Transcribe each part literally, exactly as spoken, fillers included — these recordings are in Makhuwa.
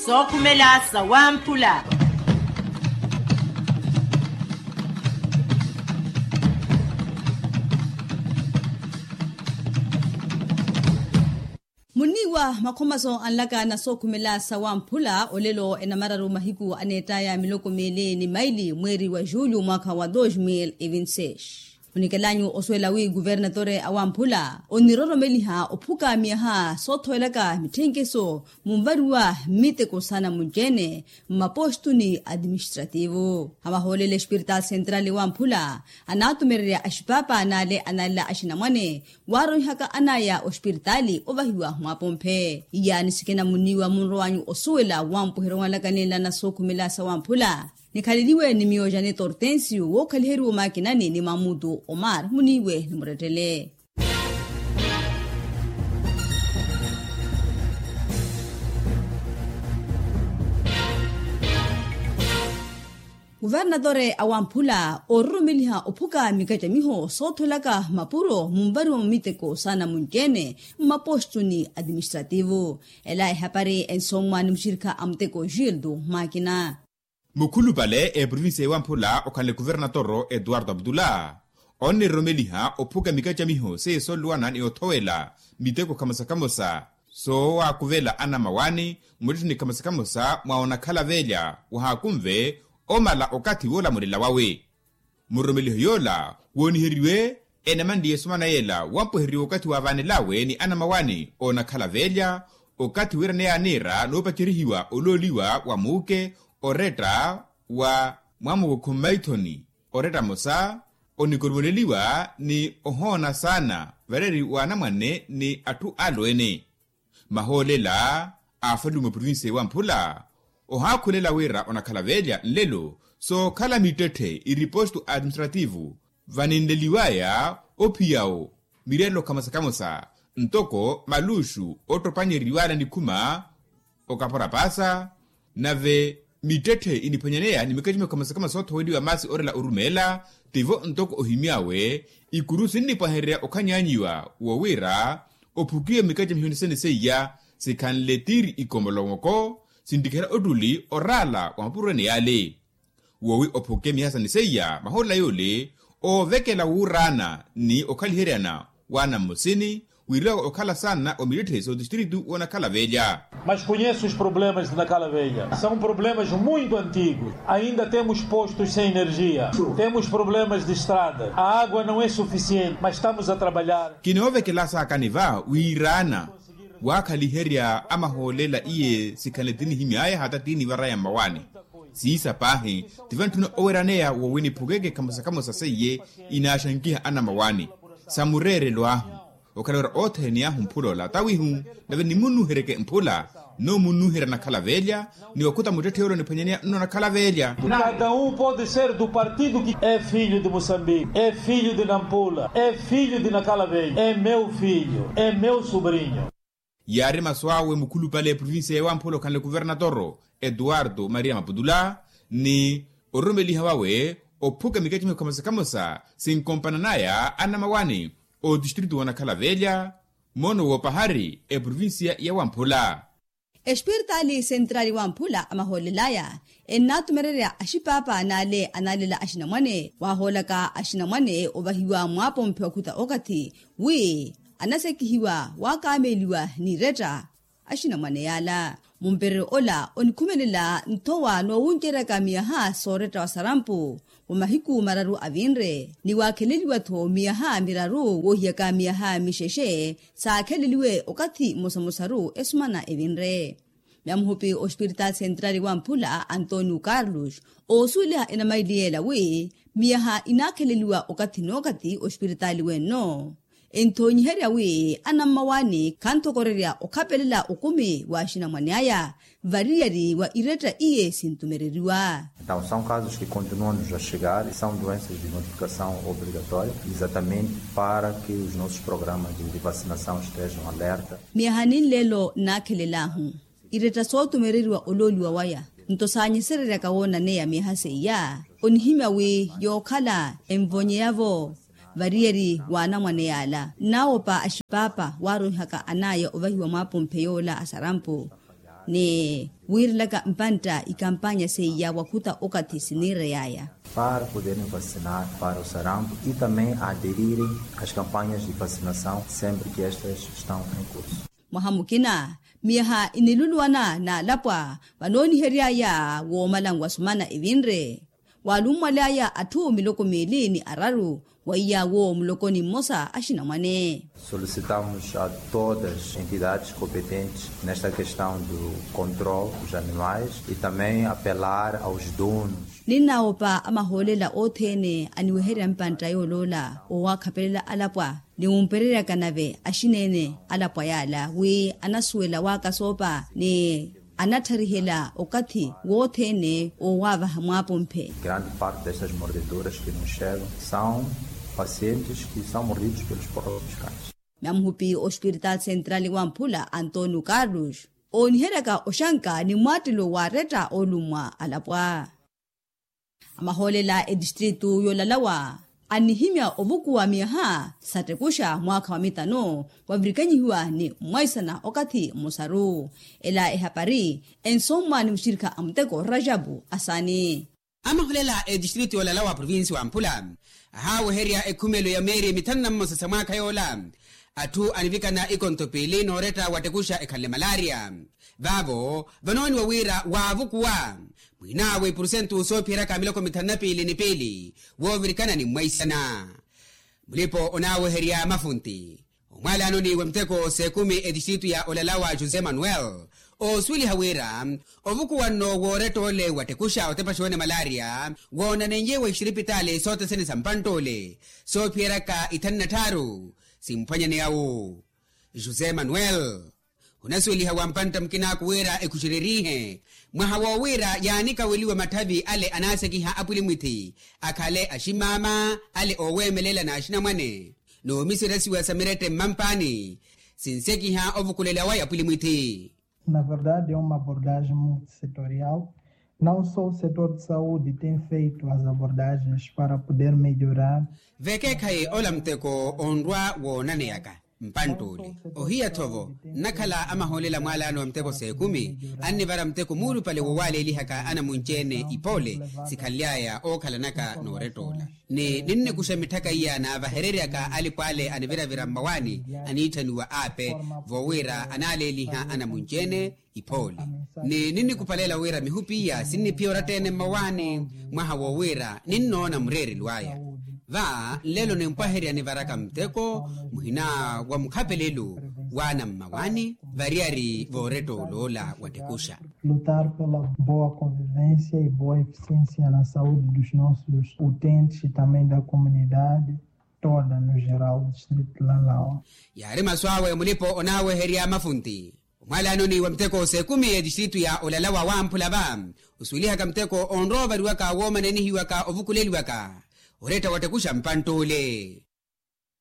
Sookhumela sawamphula. Muniiwa makhomaso anlaka na sookhumela sawamphula olelo enamararu mahiku aneettaya miloko miili ni maili mweeri wa julho mwaakha wa dos mil e vinti seis. Onikelanyu osuwela wi kuvernatore a wamphula oniroromeliha ophuka miyaha soothowelaka mitthenkeso munvariwa mmiteko saana munci-ene mmapostu ni atiministrativu. Amahoolela espiritaali sentrali wamphula anaatumererya axipapa n'ale analela axinamwane waaronihaka anaya ospiritaali ovahiwa mwaapomphe. Iyaani sikina muniiwa munrowanyu osuwela wampuheryo wanlaka nenla na sookhumela sawamphula. Nikhaleliwe ni miyo janeto ortensio wookhaliheriwa omakinani ni mamutu omar muniiwe ni murettele. Kuvernatore a wamphula oororomeliha ophuka mikacamiho soothwelaka mapuro munvariwa mmiteko saana munci-ene mmapostu ni atiministrativu. Ela ehapari ensommwa ni muxirikha a muteko gildo makina. Mukhulupale eprovinsiya ewamphula okhanle kuvernatoro etuwarto abdula oniroromeliha ophuka mikacamiho seiye sooluwana ni othowela miteko khamosa khamosa soowaakuvela anamawani muttetthe ni khamosa khamosa mwa onakhala velya wahaakunve omala okathi woolamulela wawe. Muroromeliho yoola wooniheriwe enamanliye esomana yeela wampweheriwa okathi waavanelawe ni anamawani oonakhala velya okathi wiiraneya aniira noopacerihiwa olooliwa wa muuke oretta wa mwamukukhu mmaithoni oretta mosa onikoromoneliwa ni ohoona saana vareeri wa anamwane ni atthu alweene. Mahoolela aafaliwe mwa provinsiya ewamphula ohaakhulela wira onakhala velya nlelo sookhala mittetthe iripostu administrativu vaninleliwaya ophiyawo mirelo khamosa khamosa ntoko maluxu ottopanyereriwala nikhuma okapora paasa nave mittetthe iniphwanyaneya ni mikacamiho khamosa khamosa soothoweliwa maasi orela orumeela tivo ntoko ohimy'awe ikuru sinnipwahererya okhanyaanyiwa wo wira ophukiwe mikacamiho nisene seiya sikhanle tiiri ikomolomoko sinttikhela ottuli oraala wa mapuro ene yaale. Wowi ophuke mihaasani seiya maholela yoole oovekela wuuraana ni okhaliheryana waana mmosini wiiriwaka okhala saana omittetthe sootistiritu woonakhala velya. Mas conheço os problemas de nakhala velha são problemas muito antigos. Ainda temos postos sem energia, temos problemas de estrada, a água não é suficiente mas estamos a trabalhar. Kinoovekela saakani va wiiraana waakhaliherya amahoolela iye sikhanle tinihimy'aya hata tinivaraya mmawaani. Siisa paahi tivantthuna oweraneya wowi niphukeke khamosa khamosa seiye inaaxankiha anamawani sa mureerelo ahu okhala wira othene ahu mphula ola tawihu nave nimunnuhereke mphula nno munnuherya nakhala velya ni wakhuta muttetthe yoole oniphwanyaneya nno nakhala velya. Cada um pode ser do partido que é filho de moçambique é filho de nampula é filho de nakhala velya é meu filho é meu sobrinho. Yaari masu awe mukhulupale eprovinsiya ewamphula okhanle kuvernatoro etuwarto maria maputula ni ororomeliha wawe ophuka mikacamiho khamosa khamosa sinkompananaya anamawani otistritu woonakhala velya moono woopahari eprovinsiya yawamphula. Espiritaali sentrali wamphula amahoolelaya ennaatumererya axipapa n'ale analela axinamwane waahoolaka axinamwane ovahiwa mwaapomphe wakhuta okathi wi anasekihiwa waakaameliwa n'iretta axinamwane yaala. Mumpereryo ola onikhumelela nthowa noowunceryaka miyaha sooretta wa sarampu wa mahiku mararu avinre ni waakheleliwa-tho miyaha miraru woohiyaka miyaha mixexe saakheleliwe okathi mmosamosaru esumana evinre. Myamuhupi ospiritaali sentrali wamphula antonio carlos oosuweliha enamaili yeela wi miyaha inaakheleliwa okathi n'okathi ospiritaali wenno enthoonyiherya wi anammawaani khanthokorerya okhapelela okumi wa axinamwane aya variyari wa iretta iye sintumereriwa. Então são casos que continuam a chegar e são doenças de notificação obrigatória exatamente para que os nossos programas de vacinação estejam alerta. Miyaha ninleelo nnaakhelel'ahu iretta sootumereriwa olooliwa waya nto saanyesereryaka woonaneya miyaha seiya onihimya wi yookhala envonyeya-vo variyari w'anamwane yaala nnaawopa axipapa waaronhaka an'aya ovahiwa mwaapomphe yoola a sarampu. ni wiirelaka mpantta ikampanya seiya wakhuta okathi siniireyaya. Para poderem vacinar para o sarampo e também aderirem as campanhas de vacinação sempre que estas estão em curso. Mwaha mukina miyaha iniluluwana n'alapwa vanooniheryaya woomalanwa sumana evinre. Waalummwaly'aya atthu miloko miili ni araru weiyawo mulokoni mmosa axinamwane. Solicitamos a todas as entidades competentes nesta questão do control dos animais e também apelar aos donos. Ninnawopa amahoolela othene aniweherya mpantta yooloola owakhapelela alapwa ni wumpereryaka nave axineene alapwa yaala wi anasuwela waakasoopa ni anatharihela okathi wothene owaavaha mwaapumphe. Grande parte destas mordeduras que nos chegam são pacientes que são mordidos pelos próprios cães. Namuhupi ospirital central wamphula antonio carlos ooniheryaka oxanka ni mwaattelo waaretta olummwa alapwa. Amahoolela etistritu yoolalawa annihimya ovukuwa miyaha sattekusha mwaakha wa mitano wavirikanyihiwa ni mmwaisana okathi mmosaru. Ela ehapari ensommwa ni muxirikha a muteko rajabu asani. Amahoolela etistritu yoolalawa provinsi wamphula ahaaweherya ekhumelo ya meeri mithanu na mmosa sa mwaakha yoola atthu anivikana ikonto piili nooretta wattekusha ekhanle malaria. Vaavo vanooniwa wira waavukuwa mwinaawe ipurusentu soophiyeryaka miloko mithanu na piili ni piili woovirikana ni mmwaisana. Mulipo onaaweherya mafunti omwaalaanoni wa miteko s'ekumi etistritu ya olalawa josé manuel oosuweliha wira ovukuwa nno wooretta ole wattekusha otepaxa one malaria woonanenyewa ixiripitaali sothene sa mpantta ole soophiyeryaka ithanu na tthaaru simphwanyaneya-wo. José manuel onasuweliha wa mpantta mukinaku wira ekhuxererihe mwaha woowira yaanikaweliwa matthavi ale anaasekiha apwilimwithi akhale aximaama ale ooweemelela n'axinamwane n'omiseresiwa sa mirette mmampaani sinsekiha ovukulela waya apwilimwithi. Na verdade é uma abordagem multissetorial. Não só o setor de saúde tem feito as abordagens para poder melhorar. Vekeekhayi ola muteko onrwa woonaneyaka mpantt'ule ohiya-tho-vo nnakhala amahoolela mwaalaano wa miteko s'ekumi annivara muteko muulupale wowaaleelihaka anamunci-ene ipoole sikhanly'aya ookhalanaka noorett'ola ni ninnikuxa mitthaka iya naavahereryaka alipo ale aniviravira mmawaani aniitthaniwa aape voowira anaaleeliha anamunci-ene ipoole ni ninnikupalela wira mihupi iya sinniphiya oratta-ene mmawaani mwaha woowira ninnoona mureerelo aya. Va nlelo nimpwaherya nivaraka muteko muhina wa mukhapelelo waana mmawaani variyari vooretta oloola wattekusha. Lutar pela boa convivência e boa eficiência na saúde dos nossos utentes e também da comunidade toda no geral do distrito de Lalawa. Yaari masu awe mulipo onaaweherya mafunti omwaalaanoni wa miteko s'ekumi etistritu ya olalawa wamphula va osuwelihaka muteko onrowa ovariwaka woomaneenihiwaka ovukuleliwaka oretta wattekusha mpantt'ule.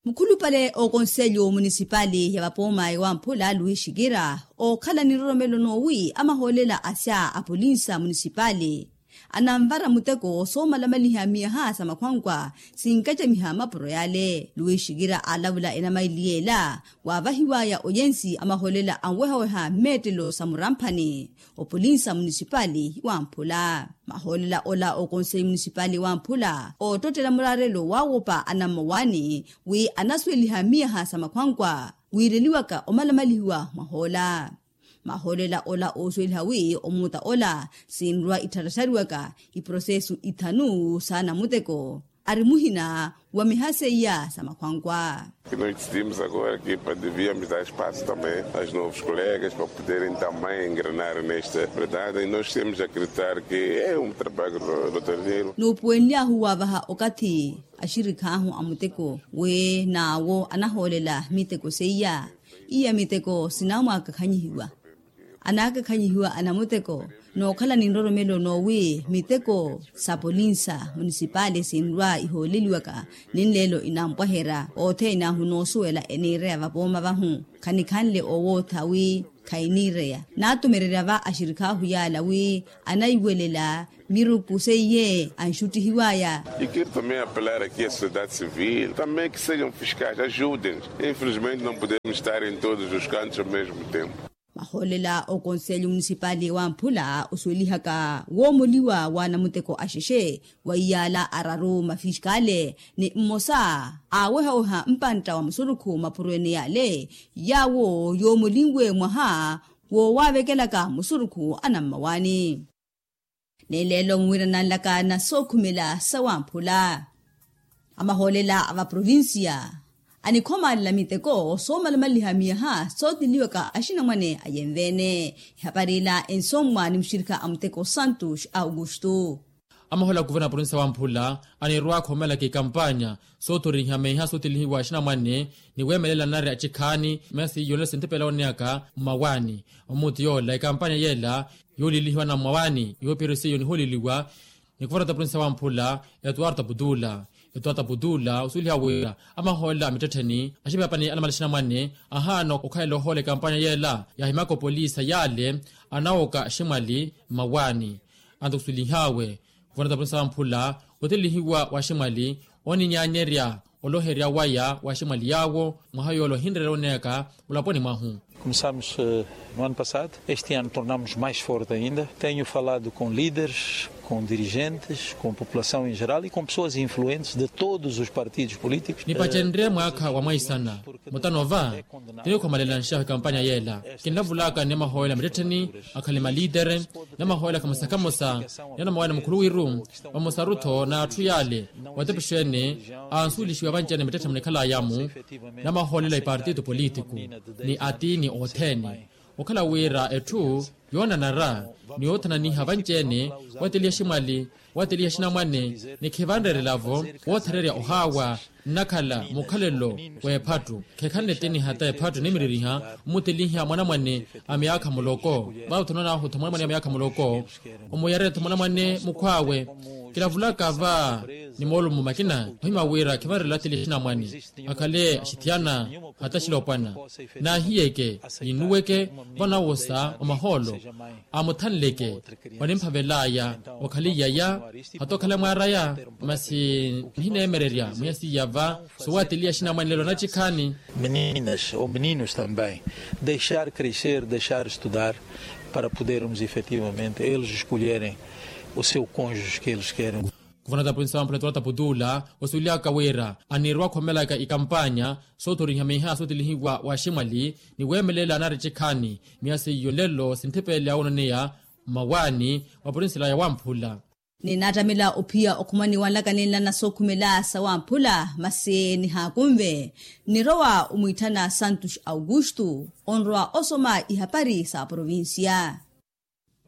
Mukhulupale ookonselyo munisipali ya vapooma ewamphula luis xikira ookhala ni nroromelo noowi amahoolela asya apolinsa munisipali ananvara muteko soomalamaliha miyaha sa makhwankwa sinkacamiha mapuro yale luis xikira aalavula enamaili yeela waavahiwaya oyensi amahoolela anwehaweha mmeettelo sa muramphani opolinsa munisipali wamphula. Mahoolela ola okonseyi munisipali wamphula oottottela muraarelo waawopa anammawaani wi anasuweliha miyaha sa makhwankwa wiireliwaka omalamalihiwa mwahoola. Mahoolela ola oosuweliha wi omuutta ola sinrwa ittharattariwaka iprosesu ithanu saana muteko ari muhina wa miha seiya sa makhwankwa. Nós decidimos agora que devíamos dar espaço também aos novos colegas para poderem também engrenar nesta verdade e nós temos a acreditar que é um trabalho roteiro. Nuupuwenly'ahu waavaha okathi axirikh'ahu a muteko wi n'awo anahoolela miteko seiya iya miteko sinaamwaakakhanyihiwa anaakakhanyihiwa anamuteko nookhala ni nroromelo noowi miteko sa polinsa munisipali sinrwa ihooleliwaka ni nleelo inampwaherya othene ahu noosuwela eniireya vapooma vahu khanikhanle owootha wi khayiniireya naatumererya va axirikh'ahu yaala wi anaiwelela miruku seiye anxuttihiwaya. E quero também apelar aqui a sociedade civil também que sejam fiscais ajudem infelizmente não podemos estar em todos os cantos ao mesmo tempo. Ahoolela okonselyo munisipali wamphula osuwelihaka woomoliwa wa namuteko axexe wa iyaala araru mafiskale ni mmosa aawehaweha mpantta wa musurukhu mapuro ene yaale yaawo yoomolinwe mwaha woowavekelaka musurukhu anammawaani. Ni leelo muwirananlaka na sookhumela sawamphula amahoolela a vaprovincia anikhomaalela miteko soomalamaliha miyaha sootiliwaka axinamwane ayenveene. Ihapari ila ensommwa ni muxirikha a muteko santos augusto. Amahoolela a kuverna a provincia wamphula anirwa akhomelaka ikampanya soothoriha miyaha sootilihiwa axinamwane ni weemelela nari axikhaani miyaha siiyo nlelo sintipela wooneyaka mmawaani. Omuti yoola ikampanya yeela yoolilihiwa na mmawaani yoopiherya siiyo nihooliliwa ni kuvarata provincia wamphula etuwarta putula. Etuwarta putula osuweliha wira amahoolela a mittettheni axipapani anamala axinamwane ahaana okhalela ohoola ekampanya yeela yaahimaka opolisa yaale anawoka aximwali mmawaani. Anto kusuwelihaawe kuvanata provincia wamphula otelihiwa wa aximwali oninyaanyerya oloherya waya wa aximwali yaawo mwaha yoola ohinreerela oneyaka mulaponi mwahu. Começamos no ano passado, este ano tornamos mais forte ainda. Tenho falado com líderes, com dirigentes, com população em geral e com pessoas influentes de todos os partidos políticos. Nipacenrye mwaakha wa mwaisana mutano va tinikhomalelanxa ekampanya yeela kinlavulaka ni amahoolela a mittettheni akhale maliitere ni amahoolela kamosa kamosa ni anamawani mukhuluwiru vamosaru-tho na atthu yaale watepexeene ansuwelixiwa vanci-ene mittettheni munikhalaya-mu ni amahoolela a ipartito politiku ni atiini othene. Okhala wira etthu yoonanara ni yoothananiha vanci-ene wateliha aximwali wateliha axinamwane ni khivanreerela-vo woothererya ohaawa nnakhala mukhalelo w'ephattu khekhanle tiniha ta ephattu nimiririha omuteliha mwanamwane a myaakha muloko vaawo tho noonaahu tho mwanamwane a myaakha muloko omuyareya tho mwanamwane mukhw'awe. Kilavulaka va ni moolumo makina ohima wira khivanreerela ateliha axinamwane akhale axithiyana hata axilopwana naahiyeke ninnuweke vanawosa omahoolo amuthanleke onimphavel'aya okhale iyaya hata okhale mwaar'aya masi nihineemererya mwiya siiya va sowateliya axinamwane lelo anacikhaani. Meninas ou meninos também deixar crescer deixar estudar para podermos efetivamente eles escolherem o seu conjus que eles querem. Kuvanata provincia wamphula etuwarta putula osuwelihaka wira anirwa akhomelaka ikampanya soothoriha miiha sootelihiwa wa aximwali ni weemelela nari cikhaani miya seiyo nlelo sintthipele awoononeya mmawaani wa provincia ilaya wamphula. Ninattamela ophiya okhumani wanlaka ninlana sookhumela sawamphula masi nihaakunve nirowa omwiitthana santos augusto onrowa osoma ihapari sa provincia.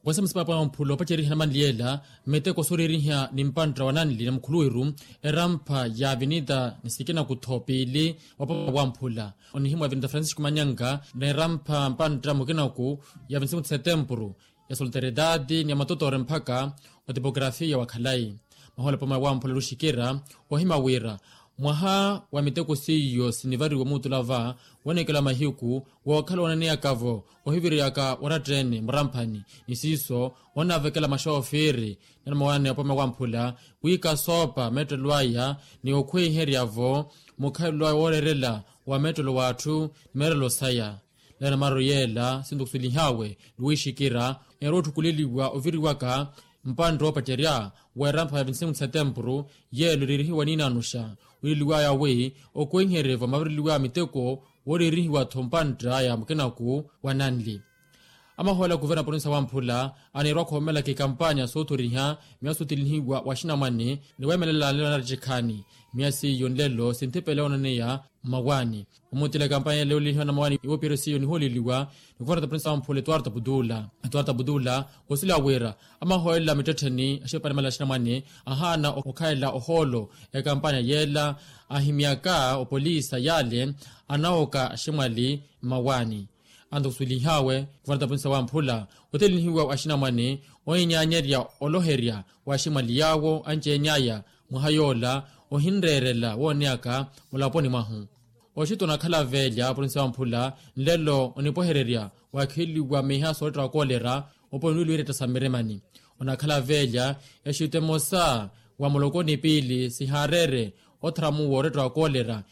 Kweesa musipapo ya wamphula opaceriha namanli yeela miteko sooririha ni mpantta wa nanli na mukhuluwiru erampha ya avenida ni sikina kutho piili wapoma wamphula onihimwa avenida francisco manyanga na erampha mpantta mukinaku ya vinti cinco de setempuru ya solteridade ni ya matotoore mpakha otipokarafiya wa khalayi. Mahoolo apoma wamphula luxikira ohima wira mwaha wa miteko seiyo sinivariwa muutula va woonekela mahiku wookhala woonaneyaka-vo ohiviriyaka oratta-ene muramphani ni siiso onaavekela maxoofiri ni anamawaani apoma wamphula wiika soopa meettelo aya ni okhweiherya-vo mukhalelo aya wooreerela wa meettelo w'atthu ni meerelo saya. Nlelo namaru yeela sinto kusuwelih'awe luwiixikira neerwa otthukuleliwa oviriwaka mpantta oopacerya wa erampha ya vinti cinco de setempuru yeelo eriirihiwa niinaanuxa wiileliw'aya wi okweiherye-vo mavireliw'aya miteko wooriirihiwa-tho mpantta ya mukinaku wa nanli. Amahoolela a kuverna provincia wamphula aneerwa akhoomelaka ikampanya soothoriha miya sootelihiwa wa axinamwane ni weemelela nlelo nari cikhaani miya seiyo nlelo sintthipele awoononeya mmawaani. Omutila ekampanya yale yoolelihiwa na mmawaani woopiherya seiyo nihooleliwa ni kuverna provincia wamphula etuwarta putula etuwarta putula osuwela wira amahoolela mittettheni axipapani amala axinamwane ahaana okhalela ohoolo ekampanya yeela ahimyaka opolisa yaale anawoka aximwali mmawaani. Anto kusuwelih'awe kuvanata provincia wamphula otelinihiwa axinamwane ohinyaanyerya oloherya wa aximwali yaawo anci-ene aya mwaha yoola ohinreerela wooneyaka mulaponi mwahu. Oxito onakhala veelya provincia wamphula nlelo onipwehererya waakheliwa miiha sooletta wa koolera oponi wiilwiiretta sa mmirimani onakhala veelya exito emosa wa muloko ni piili sihaareere otharamuwa oretta wa koolera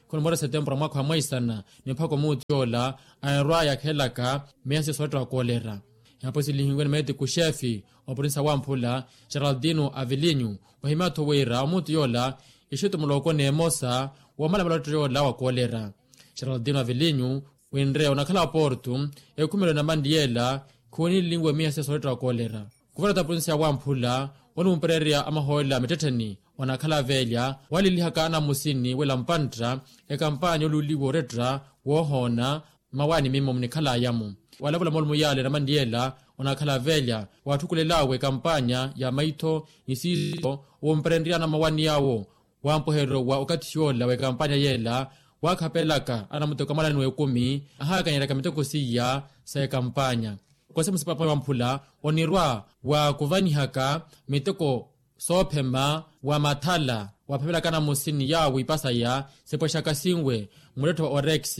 Khunimora setempura mwaakha wa mwaisana ni mpakha omuuti yoola, anarwa yakhelaka miya siya sooletta wa koolera. Ehapo silihiwe ni meetiku xeefi opurinsa wamphula, geraldino avilinyu, ohimya-tho wira omuuti yoola ixittu mulooko n'emosa woomalamala oletta yoola wa koolera. Geraldino avilinyu, winre onakhala porto, ekhumelo na manliyela khuwenilinwe miya siya sooletta wa koolera. Kuvarata purinsi ya wamphula, oniwumpererya amahoolela mittettheni onakhala aveelya, walilihaka anamusini wela mpantta ekampanya oluuliwa oretta woohoona mmawaani mimmo munikhalaya-mo. Walavula moolumo yaale na manliyela onakhala aveelya, watthukulel'awe ekampanya ya maitho ni siiso, owumperenry'ana mmawaani yaawo. Wampweheryo wa okathi yoola w'ekampanya yeela, waakhapelaka anamuteko amalani w'ekumi, ahaakanyeraka miteko seiya sa ekampanya. Kose musipapa wamphula onirwa wa kuvanihaka miteko soophema wa mathala, waaphemelaka anamusini yaawo ipasaya sipwexakasinwe mulettho wa orex,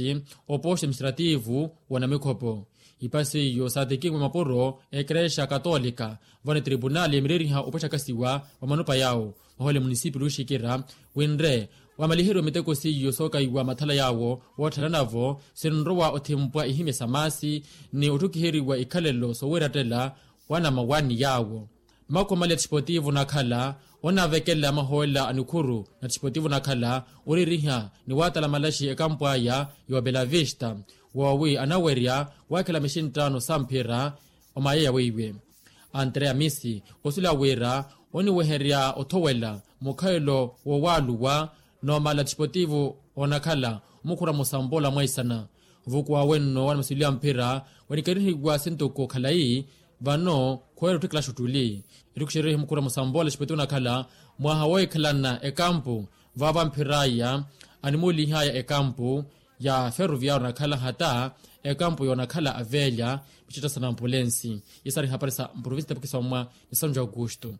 oposto administrativo w'onamikhopo. Ipasi iyo saatekinwe mapuro a ekerexa katolika, vano etribunali emireriha opwexakasiwa wa manupa yaawo. Mahoole munisipilu oxikira winre, wamaliheriwa miteko seiyo sookaiwa mathala yaawo, wootthana navo sinrowa othimpwa ihimya sa maasi ni otthukiheriwa ikhalelo sooweerattela wa namawaani yaawo. Makhumale a tixipotivo onakhala onavekela maholela a nikhuru na tixipotivo onakhala oririha ni waatala malaxi ekampwaya ya obelavista, woowi anawerya waakhela mixinttaano sa mphira. Omayeya weiwe, andrea misi osula wira oniweherya othowela mukhalelo wowaaluwa. Noomala tixipotivo onakhala omukhura musambola mwaisana. Vukuwa wenno wa namasulilo ya mphira wanikerihiwa sintuku khalayi. Vano khuwela otthikila xuttuli. Ettuku xerihi mukhura musambola xipotivo onakhala mwaha woohikhalana ekampu, vaavo amphir'aya animuulih'aya ekampu ya ferroviario onakhala hata ekampu yoonakhala aveelya. Mixitta sa nampulensi. Yesari hapari sa mprovinsi tapukisa mwa ni sanju augusto.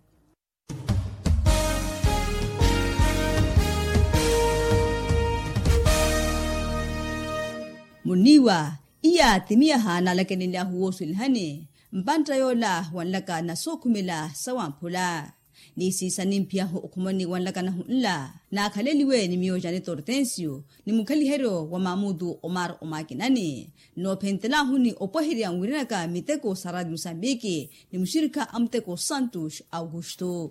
Muniiwa iya timiyaha naalakenelyahu wooswelihani mpantta yoola wanlaka na sookhumela sa wamphula. Ni siisa nimphiyahu okhumani wanlaka nahu nla naakhaleliwe ni miyo jane tortensio ni mukhaliheryo wa mamutu omar omakinani. Noophentelahuni opweherya nwiiranaka miteko sa radio musambiki ni muxirikha a muteko santos augusto.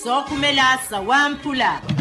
Sookhumela sa wamphula.